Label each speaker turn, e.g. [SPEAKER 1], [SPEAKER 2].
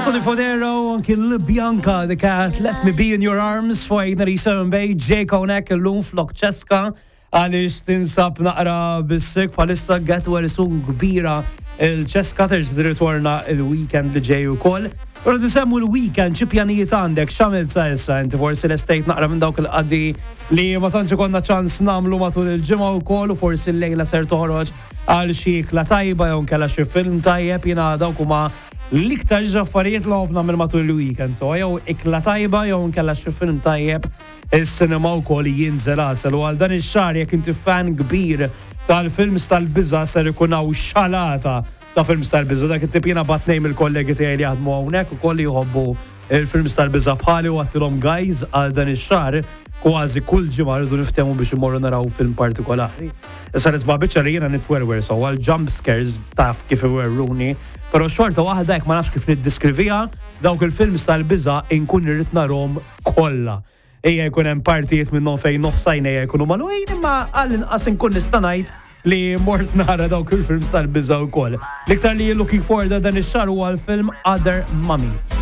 [SPEAKER 1] Sonny Fodera u anki L-Bianca The Cat, Let Me Be In Your Arms fuq 897 Bay, Jake hawnhekk illum flok Ċeska għaliex tinsab naqra bis-sick bħalissa get well soon kbira il-Ċeska terġa' tirritorna il-weekend li ġej ukoll. Però tisemmu l-weekend xi pjanijiet għandek x'għamilt sa issa inti forsi lestejt naqra minn dawk il-qadi li ma tantx ikollna ċans nagħmlu matul il-ġimgħa wkoll u forsi llejla ser toħroġ għal xi ikla tajba jew nkella xi film tajjeb jiena dawk huma L-iktar żewġ affarijiet li nħobb nagħmel matul il-weekend, so jew ikla tajba jew inkella xi film tajjeb is-cinema wkoll jinżel għasel u għal dan ix-xahar jekk inti fan kbir tal-films tal-biża' ser ikun hawn xalata ta' films tal-biża' dak it-tip jiena bgħatt ngħid mill-kollegi tiegħi li jaħdmu hawnhekk ukoll li jħobbu il-films tal-biża' bħali u għadtilhom guys għal dan ix-xahar kważi kull ġimgħa rridu niftehmu biex immorru naraw film partikolari. Issa nisma' biċċa li jiena nitwerwer so għal jump scares taf kif iwerruni, però xorta waħda jekk ma nafx kif niddeskriviha, dawk il-films tal-biża' inkun irrid narhom kollha. Ejja jkun hemm partijiet minnhom fejn nofs għajnejja jkunu magħluqin imma għall-inqas inkun nista' ngħid li mort nara dawk il-films tal-biża' wkoll. L-iktar li looking forward dan ix-xahar huwa l-film Other Mommy.